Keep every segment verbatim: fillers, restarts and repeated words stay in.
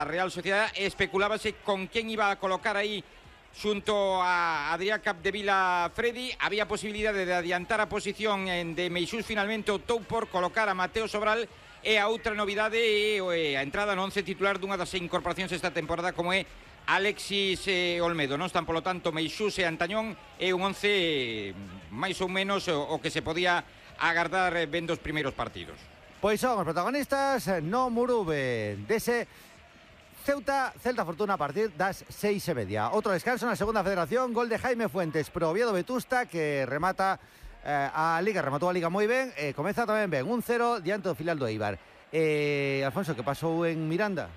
Real Sociedad. Especulábase con quién iba a colocar ahí xunto a Adrián Capdevila Freddy. Había posibilidad de adiantar a posición de Meixús. Finalmente optou por colocar a Mateo Sobral. E a outra novidade é a entrada no once titular dunha das incorporacións esta temporada, como é Alexis eh, Olmedo. Non están, polo tanto, Meixús e Antañón. É un once eh, máis ou menos o, o que se podía agardar eh, vendo os primeiros partidos. Pois son os protagonistas no Murube dese Ceuta, Celta Fortuna a partir das seis e media. Outro descanso na segunda federación, gol de Jaime Fuentes pro Oviedo Vetusta, que remata eh, a Liga, rematou a Liga moi ben, e eh, comeza tamén ben, un cero diante do filial do Eibar. Eh, Alfonso, que pasou en Miranda?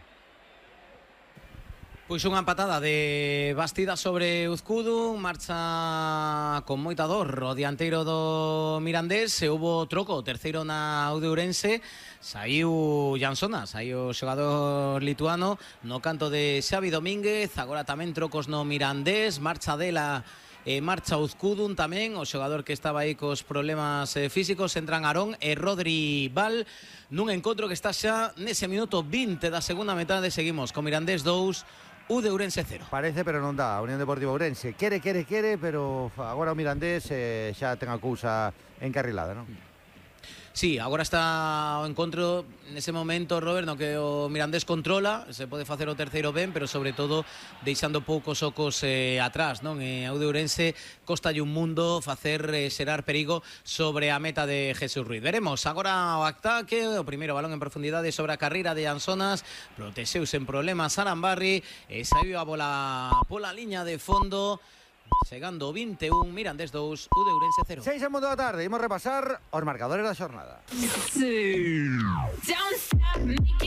Pois unha empatada de Bastida sobre Uzcudu, marcha con moita dor o dianteiro do Mirandés, e hubo troco, terceiro na Udeurense, saiu Jansona, saiu o xogador lituano no canto de Xavi Domínguez, agora tamén trocos no Mirandés, marcha dela e marcha Uzcudun tamén, o xogador que estaba aí cos problemas eh, físicos, entran Arón e Rodri Val, nun encontro que está xa nese minuto vinte da segunda metade. Seguimos con Mirandés dous, Udeurense cero. Parece, pero non dá. Unión Deportiva Ourense quere, quere, quere, pero agora o Mirandés eh, xa ten a cousa encarrilada, non? Sí, agora está o encontro nese momento, Robert, no que o Mirandés controla, se pode facer o terceiro ben, pero sobre todo deixando poucos ocos eh, atrás, non? E a Udeurense costalle un mundo facer eh, xerar perigo sobre a meta de Jesús Ruiz. Veremos agora o ataque, o primeiro balón en profundidade sobre a carreira de Ansonas, protexeuse en problemas Arambarri, e saiu a bola pola liña de fondo. Chegando vinte e un, Mirandés dous, Udeurense cero. seis en mundo da tarde, imos repasar os marcadores da xornada. Sí.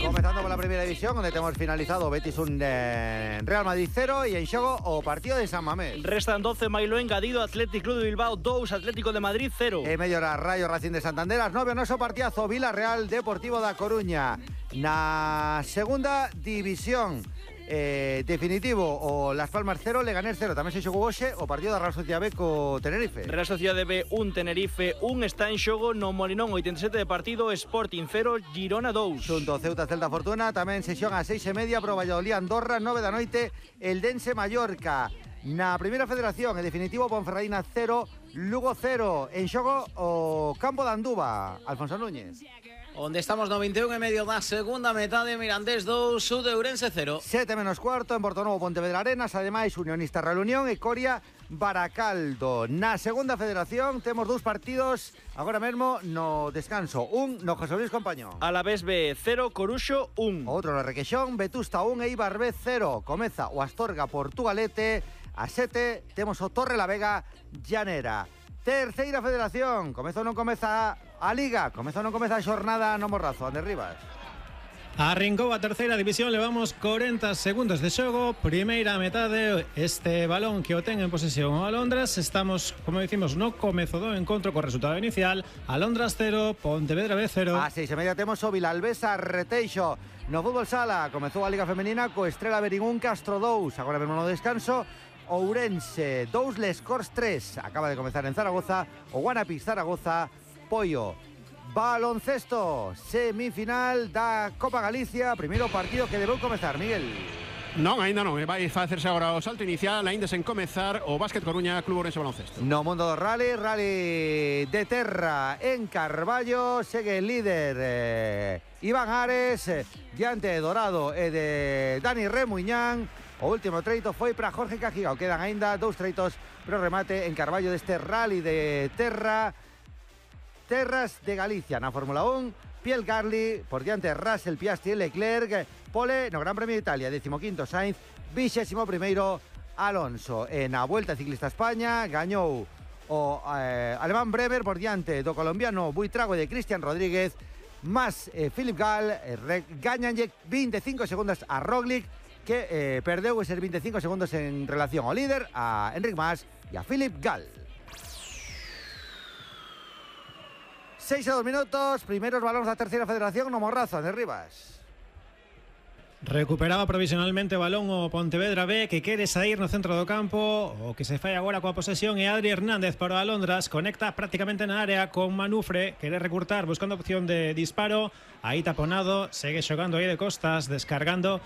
Comezando pola primeira división, onde temos finalizado o Betis un eh, Real Madrid cero e en xogo o partido de San Mamés. Restan doce, Mailo engadido, Athletic Club de Bilbao dous, Atlético de Madrid cero. E medio hora, Rayo Racing de Santander, as nove, o noso partidazo Villarreal Deportivo da Coruña. Na segunda división, Eh, definitivo, o Las Palmas cero, Leganés cero. Tamén se xogou hoxe o partido da Real Sociedad B co Tenerife. Real Sociedad B un, Tenerife un, está en xogo no Molinón, oitenta e sete de partido, Sporting cero, Girona dous. Xunto Ceuta Celta Fortuna, tamén sesión a seis e media pro Valladolid Andorra, nove da noite, Eldense Mallorca. Na primeira federación, en definitivo, Ponferradina cero, Lugo cero. En xogo o campo de Anduva, Alfonso Núñez. Onde estamos no vinte e un e medio da segunda metade, Mirandés dous, Udeurense cero. sete menos cuarto en Portonovo, Pontevedra Arenas, ademais Unionista Real Unión e Coria Baracaldo. Na segunda federación temos dous partidos agora mesmo no descanso. Un no José Luis Compañón. Alavés B cero, Coruxo un. Outro no Requexón, Vetusta un e Eibar B cero. Comeza o Astorga Portugalete. A sete temos o Torre la Vega Llanera. Terceira federación, comeza ou non comeza a Liga, comeza ou non comeza a xornada no Morrazo, Ander Rivas. Arrincou a terceira división, levamos corenta segundos de xogo, primeira metade, este balón que o ten en posesión o Alondras, estamos, como dicimos, no comezo do encontro co resultado inicial, Alondras cero, Pontevedra B cero. A seis e media temos o Vilalbesa Reteixo. No fútbol sala, comezou a Liga Femenina co Estrela Berín un, Castro dous, agora mesmo no descanso, Ourense dous, Les Corts tres. Acaba de comezar en Zaragoza o Guanapis Zaragoza, Pollo. Baloncesto, semifinal da Copa Galicia, primeiro partido que debeu comezar, Miguel. Non, aínda non, vai facerse agora o salto inicial, aínda sen comezar o Básquet Coruña, Club Ourense Baloncesto. No mundo do rally, rally de terra en Carballo, segue el líder eh, Iván Ares, eh, diante de Dorado e de Dani Remuñán. O último treito foi para Jorge Cajigao. Quedan aínda dous treitos pro remate en Carballo deste rally de terra. Terras de Galicia na Fórmula un, Piel Garli por diante de Russell, Piastri e Leclerc. Pole no Gran Premio de Italia, decimoquinto Sainz, vixésimo primeiro Alonso. E na Vuelta Ciclista a España gañou o eh, alemán Bremer por diante do colombiano Buitrago e de Cristian Rodríguez, más eh, Philip Gall, eh, gañanlle veinticinco segundos a Roglic, que eh, perdeu eses veinticinco segundos en relación ao líder, a Enric Mas e a Philip Gall. seis a dos minutos, primeiros balóns da terceira federación no Morrazo, de Rivas. Recuperaba provisionalmente o balón o Pontevedra B, que quere sair no centro do campo. O que se fai agora coa posesión é Adri Hernández para o Alondras. Conecta prácticamente na área con Manufre, quere recurtar buscando opción de disparo. Aí taponado, segue xogando aí de costas, descargando